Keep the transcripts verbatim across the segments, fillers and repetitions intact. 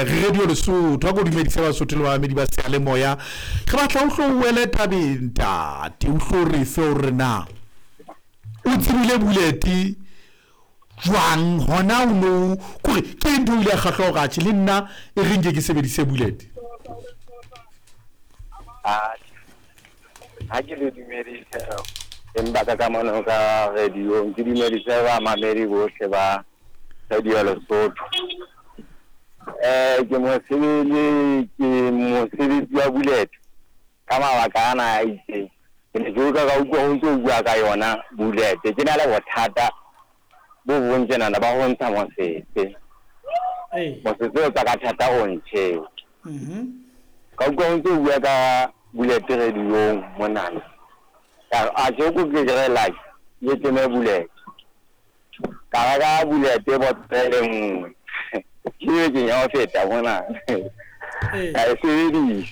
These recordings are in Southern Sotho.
Re Radio Lesotho, a ko dumedise Basotho le bamamedi ba seyalemoya. Re batla o hlo o wele tabeng ntate, o hlo re fe hore na o tsebile bullet jwang hona o no kore ke eng ntho o ile ya kgahla hore atjhe le nna e re nke ke sebedise bullet. Ha ke le dumedise empa ka kamano ka radio, ke dumedise bamamedi bohle ba Radio Lesotho. Eh ke mosebetsi ke mosebetsi wa bullet ka mabaka ana a itseng. Ke ne ke utlwa ka utlwa ho ntso bua ka yona bullet. Ke na le bothata bo bong tjenana ba ho ntsha mosese. Mosese o tswa ka thata o ntjhe. Ka utlwa ho ntso bua ka bullet radio-ong monana. Ka a tjhe ko ke re like ke teme bullet. Ka reka bullet botlele nngwe. Ke ke ya ho feta mona. Ka e sebedisa.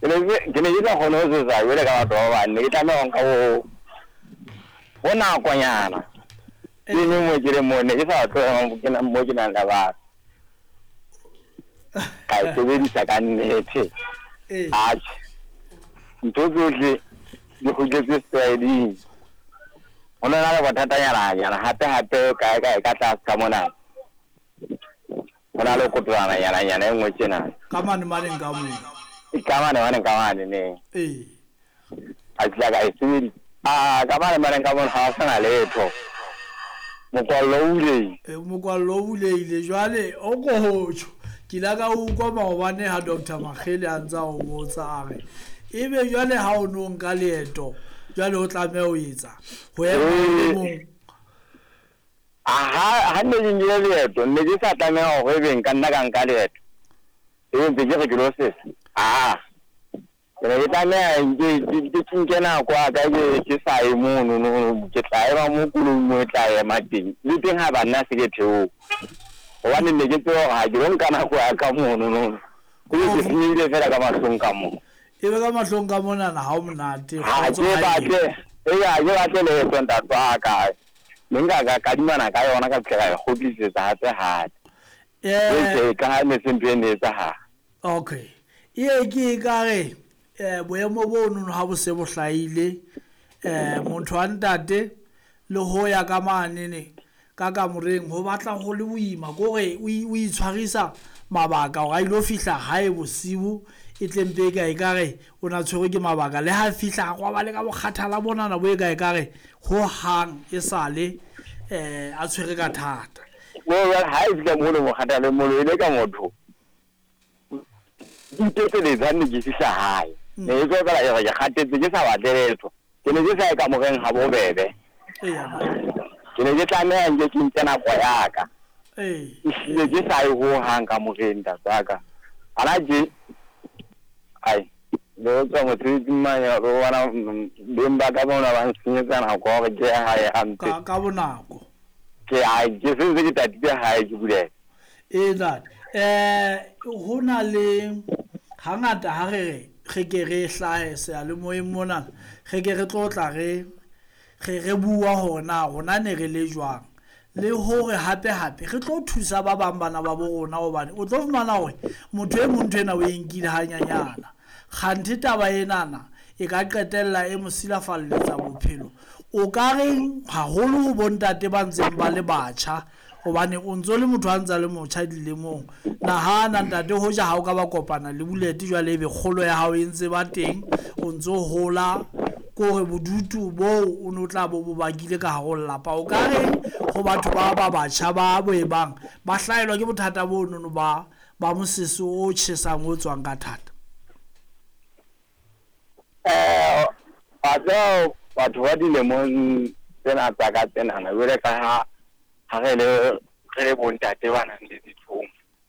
Ke ne ke ne ke sa kgone ho sesa jwale ka batho ba bang, ne ke tlameha ho nka ho ho nakonyana. Ke ne mo ke le mo ne ke sa tloha ke na mo ke nang le batho. Ka e sebedisa ka nnete. Atjhe. Ntho tsohle di kgutletse setlwaeding. Ho na le bothatanyana nyana hape hape kae kae ka tlase ka mona. Ho na le kotolana nyana nyana e nngwe tjena. Ka mane maneng ka moo. Ka mane maneng ka mane ne. Ee. A tla ka e sebedisa. Ah, ka mane maneng ka mona ha ho sana letho. Mokwallo o buleile. E mokwallo o buleile jwale o ko ho tjho. Ke la ka utlwa maobane ha Doctor Makgele a ntsa o botsa a re ebe jwale ha o no nka leeto jwale o tlameha ho etsa ho ema o mong. Aha, ha ne ke nkile leeto ne ke sa tlameha hore ebe nka nna ka nka leeto. Ebe ntse ke re ke lo sesa. Ah. Ke ne ke tlameha nke ke nke nako ya ka ke ke sa ye mono no ke tla ema mo koloing mo e tla ema teng. Le teng ha ba nna se ke theoha. Hobane ne ke tseba hore ha ke lo nka nako ya ka mono no. Ke ke senyehile fela ka mahlong ka mo. Ebe ka mahlong ka monana ha o monate. Ha ke batle, eya ha ke batle leeto ntate wa ka. Ne nka ka kadimana ka yona ka fihla ka e kgutlisetsa hape hape. Eh ka ha ne se ntho e ne etsahala. Okay. E ke ka re eh boemo bo nono ha bo se bo hlahile eh motho wa ntate le ho ya ka mane ne ka kamoreng ho batla ho le boima kore o o itshwarisa mabaka hore a ilo fihla hae bosiu e tle mpe ka e ka re o na tshwerwe ke mabaka le ha fihla go ba le ka bokgathala bonana bo e ka e ka re ho hang e sale eh a tshwere ka thata. Well ha e fihla mo le bokgathala mo le ka motho. Diteteletsa ne ke fihla hae. Ne ke tswa ka ke kgatetse ke sa batle letho. Ke ne ke sa ye kamoreng ha bobebe. Ke ne ke tlameha nke ke nke nako ya ka. Ee. Ehlile ke sa ye ho hang kamoreng ntate wa ka. Hana tje ai le tswa mosebetsing mane o bona beng ba ka bona ba nsenyetsa nako hore ke ye hae hampe. Ka ka bonako. Ke ai ke sentse ke tatile hae ke bulela. Ee ntate. Eh ho na le hangata ha re re re ke re hlahe seyalemoyeng mona re ke re tlo tla re re re bua hore na rona ne re le jwang le hore hape hape re tlo thusa ba bang bana ba bo rona hobane o tlo fumana hore motho e mong ntho ena o e nkile hanyanyana kganthe taba enana e ka qetella e mo silafalletsa bophelo. O ka reng haholo ho bontate ba ntseng ba le batjha hobane o ntso le motho a ntsa le motjha dilemong. Nahana ntate hoja ha o ka ba kopana le bullet jwale ebe kgolo ya hao e ntse ba teng o ntso hola kore bodutu boo o no tla bo bo bakile ka hare ho lelapa. O ka reng ho batho ba ba batjha ba bo e bang ba hlahelwa ke bothata bo nono ba ba mosese o tjhesang o tswang ka thata? Eh batho batho ba dilemong tsena tsa ka tsenana jwale ka ha ha re le re le bontate ba nang le ditlhong.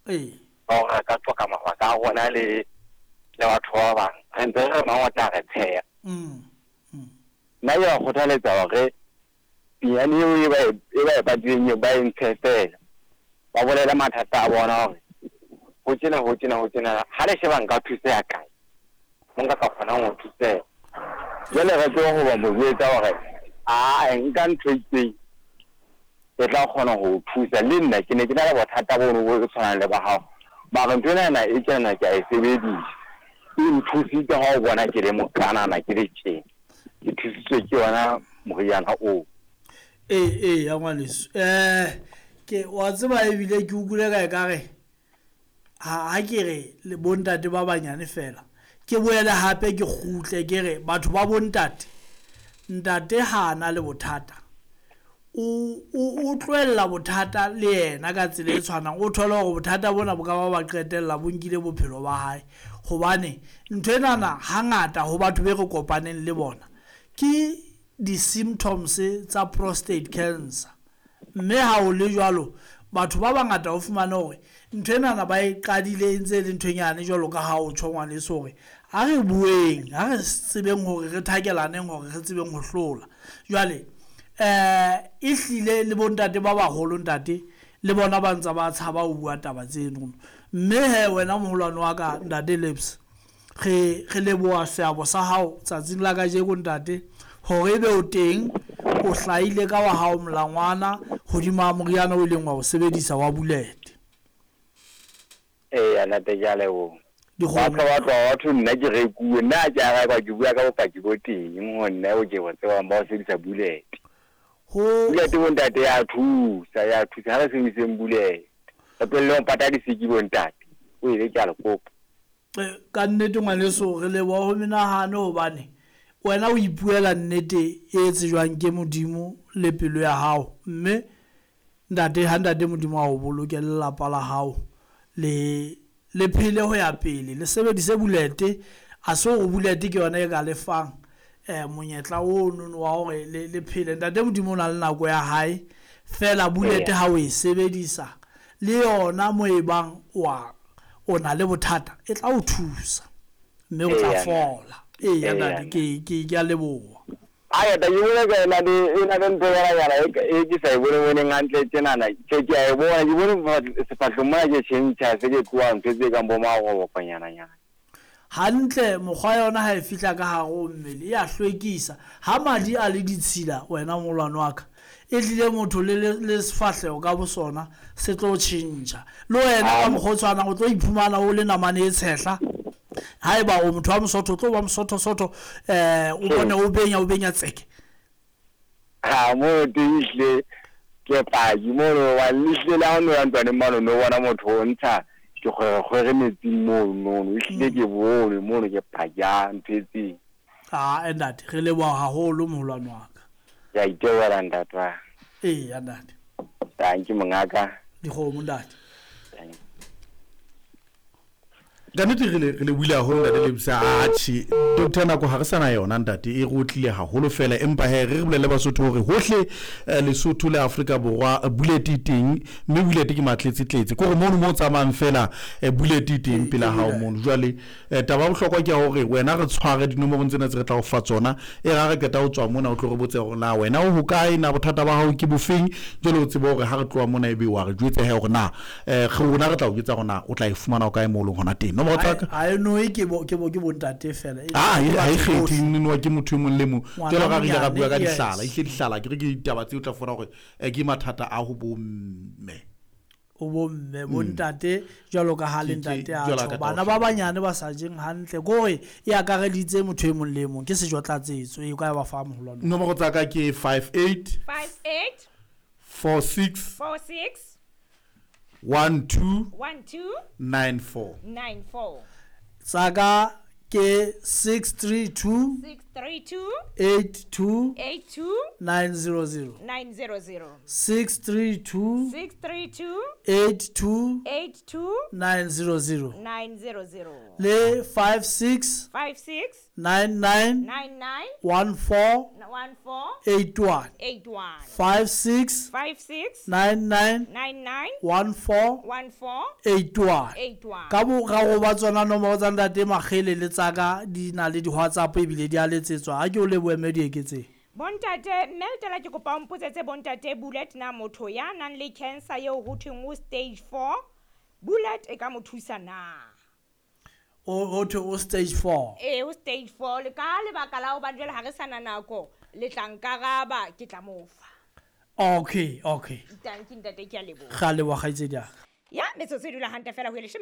Ee. Ba hore re ka qoqa mabaka a rona le le batho ba bang re ntse re mang o tla re tsheha. Mm. Nna ke ba kgothaletsa hore pinyane eo e ba e ba e batlileng eo ba e ntshe fela. Ba bolele mathata a bona hore ho tjena ho tjena ho tjena ha le sheba nka thuseha kae. Mo nka ka kgonang ho thuseha. Jwale re tsebe ho ba mo jwetsa hore a nka ntho e itseng e tla kgona ho thusa. Le nna ke ne ke na le bothata bono bo tshwanang le ba hao. Mara ntho ena e tjena ke a e sebedisa. E nthusitse ha o bona ke le mokanana ke le tjena. Ke thusitswe ke yona moriana oo. Ee ee ya ngwaneso. Eh ke wa tseba ebile ke utlwile ka ekare ha ha ke re le bontate ba banyane fela. Ke boele hape ke kgutle ke re batho ba bontate ntate ha na le bothata o o tlohella bothata le yena ka tsela e tshwanang o thole hore bothata bona bo ka ba ba qetella bo nkile bophelo ba hae hobane ntho enana hangata ho batho be re kopaneng le bona ke di-symptoms tsa prostate cancer mme ha o le jwalo batho ba bangata o fumane hore ntho enana ba e qadile e ntse e le ntho e nyane jwalo ka ha o tjho ngwaneso hore ha re bueng ha re tsebeng hore re thakelaneng hore re tsebeng ho hlola jwale eh e hlile le bontate ba baholo ntate le bona ba ntse ba tshaba ho bua taba tseno mme he wena moholwane wa ka ntate Lips re re leboha seabo sa hao tsatsing la kajeko ntate hore ebe o teng o hlahile ka wa hao molangwana hodima moriana o ileng wa o sebedisa wa bullet. Ee ntate ke a leboha. Batho ba tloha batho nna ke rekuwe nna ke a rekwa ke bua ka bopaki bo teng ho nna o ke bo tsebang ba ho sebedisa bullet. Ho Bullet bontate ya thusa ya thusa ha re sebediseng bullet. Re tlohelle ho pata disiki bontate. O ile ke a le kopa. Ka nnete ngwaneso re leboha ho menahano hobane wena o ipuela nnete e tsejwang ke Modimo le pelo ya hao mme ntate ha ntate Modimo a o boloke lelapa la hao le le phele ho ya pele le sebedise bulete a se hore bulete ke yona e ka lefang eh monyetla o nono wa hore le le phele ntate Modimo o na le nako ya hae fela bulete ha o e sebedisa le yona mo e bang wa o na le bothata e tla o thusa mme o tla fola. Ee ya ntate ke ke ke a leboha. Aya ta ke bone ka ena le ena le ntho ya yana e ke sa e bone boneng hantle tjenana ke ke a e bona ke bone sefahlong mona ke tjhentjha se ke tloha ntho tse kang bo magobopanyana nyana. Hantle mokgwa yona ha e fihla ka hare ho mmele e a hlwekisa ha madi a le ditshila wena molwane wa ka e tlile motho le le sefahleho ka bosona se tlo tjhentjha le wena ka mokgwa o tshwanang o tlo iphumana o le namane e tshehla haeba o motho wa mosotho o tlo ba mosotho sotho eh o bone o benya o benya tseke ha mo teng ehlile ke paki mono wa lehlile la ho no ya ntlwaneng mano no bona motho o ntsha ke kgwerekgwere metsing mono nono ehlile ke bone mono ke paki ya ntho e tseng. Ah ntate re leboha haholo moholwane wa ka. Ke a itebohela ntate wa. Ee ntate. Thank you mongaka. Dikgomo ntate. Ka nnete re le re le buile haholo ntate Lebisa atjhe doctor nako ha re sana yona ntate e re otlile haholo fela empa he re re bolelle Basotho hore hohle Lesotho le Afrika Borwa bullet e teng mme bullet ke matletse tletse ke hore mono mo tsamayang fela bullet e teng pela hao mono jwale taba ya bohlokwa ke ya hore wena re tshware dinomorong tsena tse re tla o fa tsona e ra re qeta ho tswa mona o tlo re botse hore na wena o hokae na bothata ba hao ke bofeng jwale o tsebe hore ha re tloha mona ebe wa re jwetse he hore na rona re tla o jwetsa hore na o tla e fumana o kae mo leng hona teng. Ha e noe ke bo ke bo ke bontate fela ah ha e kgethe noa ke motho e mong le mong jwalo ka re ile ra bua ka dihlala ehlile dihlala ke re ke ditaba tseo tla fona hore ke mathata a ho bomme o bomme bontate jwalo ka ha le ntate a tjho bana ba banyane ba sa jeng hantle kore e akareditse motho e mong le mong ke sejo tlatsetso e ka ba fa moholwane. Nomoro tsa ka ke five eight five eight four six four six one two one two nine four nine four. Tsaka ke six three two six three two eight two eight two nine zero zero nine zero zero six three two six three two eight two eight two nine zero zero nine zero zero le five six five six nine nine nine nine one four one four eight one eight one five six five six nine nine nine nine one four one four eight one eight one. Ka boraro ba tsona nomoro tsa ntate Makgele le tsaka di na le di WhatsApp ebile di a letsetswa ha ke o lebohe mme di eketseng. Bontate mme letela ke kopa o mpotsetse bontate bullet na motho ya nang le cancer eo ho thweng o stage four bullet e ka mo thusa na? O ho thwe o stage four. Ee o stage four le ka lebaka la hobane jwale ha re sana nako le tla nkaraba ke tla mo fa. Okay okay. Thank you ntate ke a leboha. Ga leboha kgaitsedi ya ka. Ya metsotso e dula hantle fela ho e leshome.